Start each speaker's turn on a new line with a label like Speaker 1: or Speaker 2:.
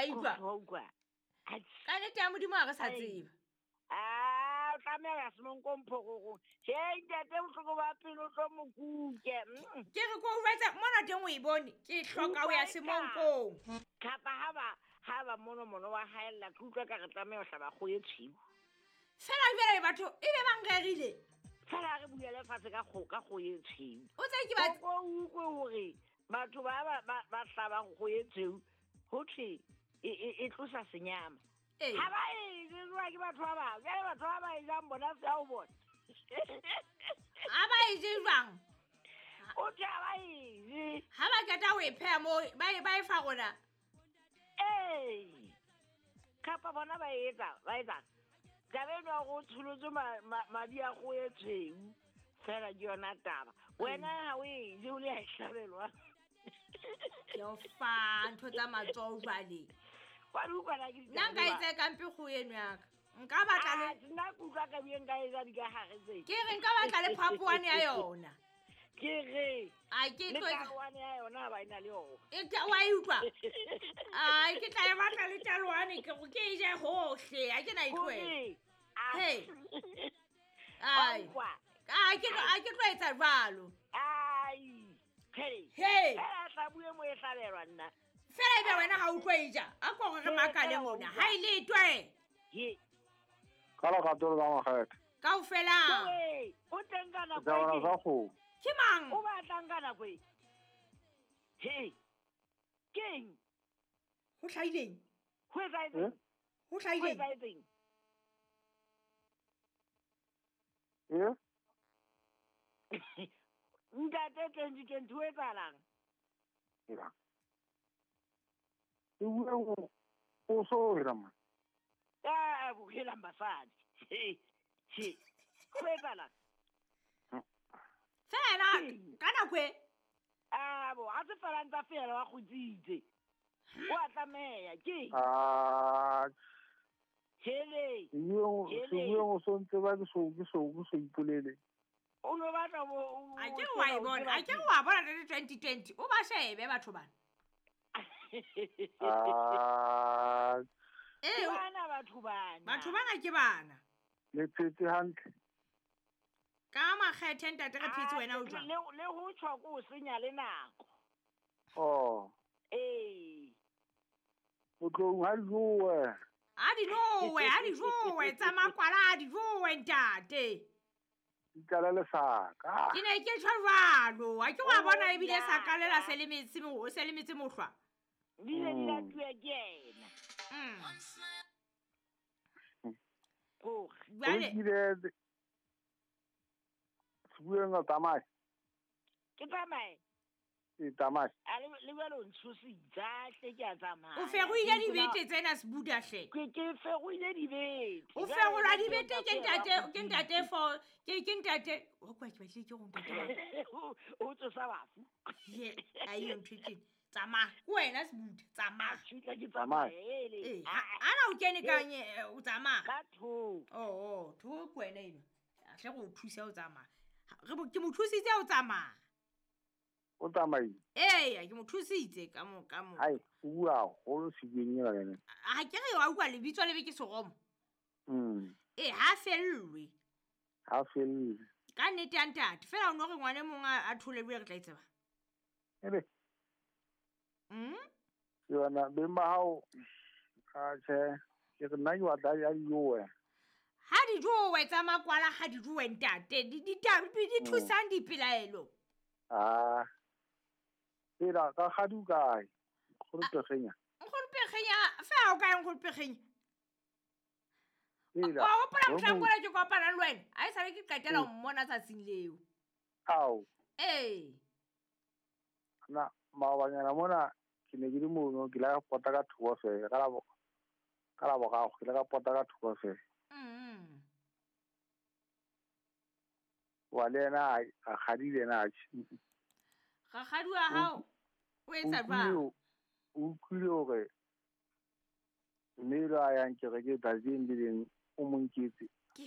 Speaker 1: utlwa
Speaker 2: Wa utlwa
Speaker 1: ka nnete ya modimo ga re sa tseba
Speaker 2: a o tlameha ya semonkong phororong he ntate bohloko ba pelo tlo mokuke.
Speaker 1: Ke re ko jwetsa mona teng o e bone ke hloka ho ya semonkong
Speaker 2: kapa ha ba mono mono wa haella ke utlwa ka re tlameha ho hlaba kgoho e tshweu
Speaker 1: fela jwale batho e be bang rerile
Speaker 2: fela re buele fatshe ka kgoho e tshweu
Speaker 1: o tse ke ba
Speaker 2: o utlwe hore batho ba hlabang kgoho e tshweu ho thwe e tlosa senyama ha ba e jewa ke batho ba bang jwale batho ba ba e jang bona se ho bona
Speaker 1: ha ba e je jwang
Speaker 2: o thwe ha ba e je
Speaker 1: ha ba qeta ho e pheha moo ba e fa rona
Speaker 2: ee kapa bona ba etsa taba eno ya gore o tsholotswe madi a kgoho e tshweu fela ke yona taba wena ha o e je o le ya e hlabelwa
Speaker 1: ke o fa ntho tsa matsoho jwale nna nka e tsaya kampe kgoho eno yaka nka batla le
Speaker 2: nna ke utlwa ka bie nka etsa dikagare tse
Speaker 1: ke re nka batla le phapoane ya yona
Speaker 2: ke re
Speaker 1: a ke
Speaker 2: le taloane ya yona ba ena le yona
Speaker 1: wa e utlwa ai ke tla e batla le taloane ke go ke e je hohle a ke na e tlohela hey ai a ke tlo etsa jwalo
Speaker 2: ai
Speaker 1: hey
Speaker 2: fela tla bue mo e hlabelwa nna
Speaker 1: fela ebe wena ha utlwe e ja a ko re makale mona ha e le twe
Speaker 2: ye
Speaker 3: ka lerato le ka makgethe
Speaker 1: kaofela
Speaker 2: o teng ka nako
Speaker 3: e sa kgomo
Speaker 1: ke mang
Speaker 2: o batlang ka nako e he keng
Speaker 1: ho hlahileng
Speaker 2: ho etsahetseng
Speaker 1: ho hlahileng
Speaker 2: ntate 2020 ho etsahalang
Speaker 3: e bue o so hela man
Speaker 2: a bohelang basadi he ho etsahalang
Speaker 1: fela ka nako e
Speaker 2: a bo a se fela ntsa fela wa kgutsitse o a tlameha ke hele
Speaker 3: sebueng o sontse ba ke so ipolele
Speaker 2: o no batla bo
Speaker 1: a ke wa e bona a ke wa bona 2020 o ba shebe batho bana
Speaker 2: bana batho bana
Speaker 1: batho bana ke bana
Speaker 3: le phetse hantle
Speaker 1: ka makgethe ntate re phetse wena o jwang
Speaker 2: le ho tshwa ko o senya le nako
Speaker 3: oh
Speaker 2: ee
Speaker 3: o tlo ha jowe
Speaker 1: a di jowe tsa makwala a di jowe ntate
Speaker 3: ditlala le saka
Speaker 1: ke ne ke tjho jwalo a ke wa bona ebile sa kalela se le metsi se le metsi mohlwa
Speaker 2: di ne di latuwe ke yena
Speaker 1: jwale
Speaker 3: sebueng o tsamaye
Speaker 2: ke tsamaye
Speaker 3: e tsamaye
Speaker 2: a le jwale o ntshositse hle ke a tsamaya
Speaker 1: o feroile dibete tsena sebuda hle
Speaker 2: ke feroile dibete
Speaker 1: o ferolwa dibete ke ntate for ke ntate o kwa ke batle ke go ntate
Speaker 2: o tsosa bafu
Speaker 1: ye a iyo ntho e tsamaya ke wena sebuda tsamaya
Speaker 2: ke tsamaye
Speaker 1: ana o kene kanye o tsamaya
Speaker 2: ka tho
Speaker 1: oh tho ke wena eno a hle go o thusa o tsamaya ke mo thusitse o tsamaya
Speaker 3: o tsamaile
Speaker 1: ee ke mo thusitse ka mo
Speaker 3: hai o bua haholo sebueng ena le
Speaker 1: ha ke re wa utlwa lebitso lebe ke seromo ee ha fellwe ka nnete ya ntate fela o no re ngwane mong a tholelwe re tla e tseba
Speaker 3: ebe yona beng ba hao a tjhe ke re nna ke batla a dijowe
Speaker 1: ha di jowe tsa makwala ha di jowe ntate di thusang dipelaelo
Speaker 3: a fela ka kgadi o kae nkgono
Speaker 1: Pegenya fela o kae nkgono Pegenya wa hopola mohlang kola ke kopana le wena a e sale ke qetela ho mmona tsatsing leo
Speaker 3: ao
Speaker 1: ee
Speaker 3: na maobanyana mona ke ne ke le mono ke la pota ka thoko fela ka la borago ke le ka pota ka thoko fela wa le ena a kgadi le ena
Speaker 1: rakgadi wa hao o etsa jwang
Speaker 3: o utlwile hore mme lo a yang kereke tsatsing le leng o mo nketse